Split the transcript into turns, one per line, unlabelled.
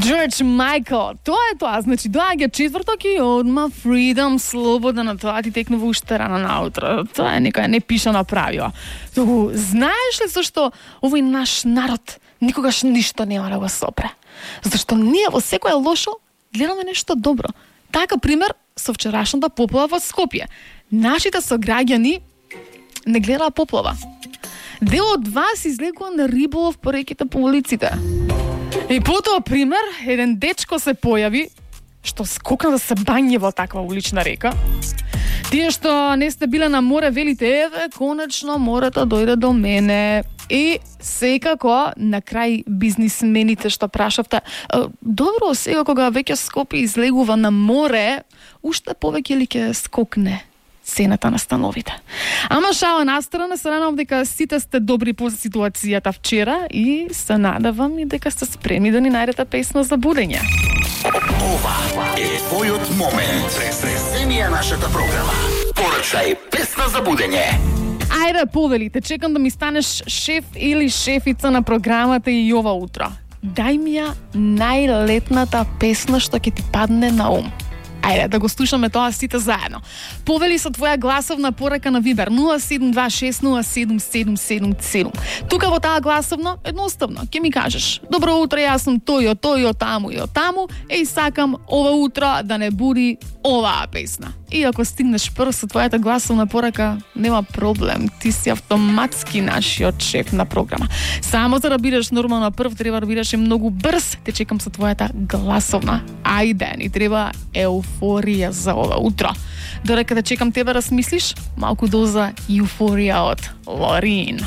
Джордж Майкл, тоа е тоа, значи доаѓа четврток и одма freedom, слобода, на тоа ти текнува уште рано наутро. Тоа е некоја непишана правила. Туку, знаеш ли зашто овој наш народ никогаш ништо нема да го сопре? Зашто ние во секое лошо гледаме нешто добро. Така пример со вчерашната поплава во Скопје. Нашите сограѓани не гледаа поплава. Дел од вас излегува на риболов по реките по улиците. И потоа пример, еден дечко се појави што скокна да се бање во таква улична река. Тие што не сте биле на море велите, еве, конечно морето дојде до мене. И секако на крај бизнисмените што прашавте, добро, сега кога веќе Скопје излегува на море, уште повеќе ли ќе скокне цената на становите? Ама шала настрана, се надевам дека сите сте добри по ситуацијата вчера и се надевам и дека сте спремни да ни најдете песна за будење.
Ова е твојот момент. Преземија нашата програма. Порачај песна за будење.
Ајде, повелите, чекам да ми станеш шеф или шефица на програмата и ова утро. Дај ми ја најлетната песна што ќе ти падне на ум. Ајде, да го слушаме тоа сите заедно. Повели со твоја гласовна порака на Вибер 072607777. Тука во таа гласовна, едноставно, ќе ми кажеш: добро утро, јас сум тој, од таму и од таму, и сакам ова утро да не буди оваа песна. И ако стигнеш прв со твојата гласовна порака, нема проблем, ти си автоматски нашиот шеф на програма. Само за да бидеш нормално прв, треба да бидеш и многу брз. Те чекам со твојата гласовна. Ајде, ни треба еуфорија за ова утро. Додека да чекам тебе размислиш, малку доза еуфорија од Лорин.